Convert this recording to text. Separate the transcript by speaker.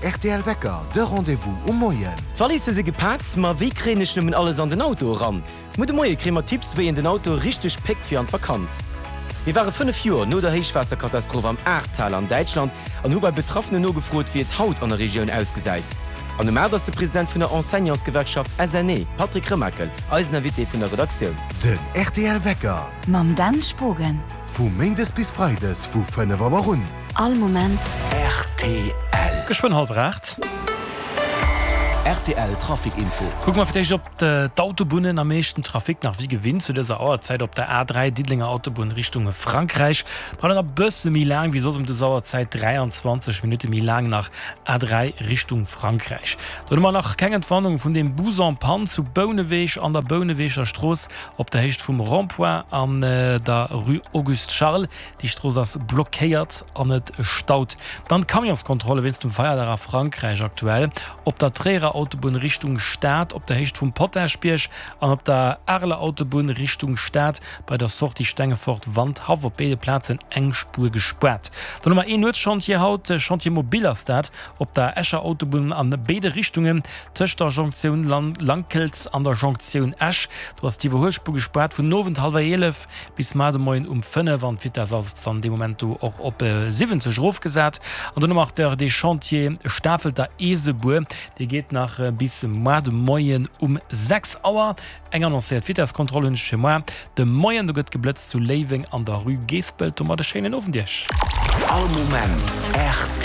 Speaker 1: rtl Wecker, de Rendez-vous um Moien.
Speaker 2: D'Valisse si gepaakt, ma wéi kréien ech nëmmen alles an den Auto eran? Muer de Moie kréie mer Tipps, wéi een den Auto richteg péckt fir an d'Vakanz. Mir ware 5 Joer no der Héichwaasserkatastroph am Ahrtal an Däitschland an hu bei Betraffenen nogefrot, wéi et haut an der Regioun ausgesäit. An um 8 ass de President vun der Enseignantsgewerkschaft SNE, Patrick Remakel, eisen Invité vun der Redaktioun.
Speaker 1: Den rtl Wecker.
Speaker 3: Mam Dan Spogen.
Speaker 1: Vu Méindes bis Freides vu 5 Auer un.
Speaker 3: All Moment.
Speaker 1: Rtl.
Speaker 4: Geschwënn hallwer 8.
Speaker 1: Rtl Trafic Info.
Speaker 4: Kucke mer fir d'éischt op d'Autobunnen. Am meeschten Trafic nach wéi gewinnt zu dëser Auerzäit op der A3 Diddelenger Autobunn Richtung Frankräich. Brauch nach e bësse méi laang wéi soss ëm dës Auerzäit, 23 Minutte méi laang nach A3 Richtung Frankräich. Dann hu mer nach keng Entwarnung vun deem Bus en panne zu Bouneweg an der Bouneweger Strooss op der Héicht vum Rond-point an der Rue Auguste Charles. Déi Strooss ass blockéiert an et staut. Dann d'Camionskontrolle wéinst dem Feierdag a Frankräich aktuell op der Tréierer Autobunn Richtung Stad op der Héicht vum Potaschbierg an op der Areler Autobunn Richtung Stad bei der Sortie Stengefort-Wandhaff op béide Plazen eng Spuer gespaart. Dann hu mer een Nuetschantier haut, Chantier mobile ass dat, op der Escher Autobunn an béide Richtungen tëscht der Jonktioun Lankelz an der Jonktioun Esch. Do ass d'Iwwerhuelspuer gespaart vun Owend hallwer 11 Bis mar de Moien um 5 an d'Vitess ass dann dee Moment do och op 70 erofgesat. An dann hu mer nach dee Chantier Stafelter Eesebuer, dee geet nach bis mar de Moien um 6 Auer. Eng annoncéiert Vitesskontroll hunn ech fir mar de Moien. Do gëtt geblëtzt zu Léiweng an der Rue Geespelt. Domat e schéinen Owend Iech.
Speaker 1: All Moment rtl.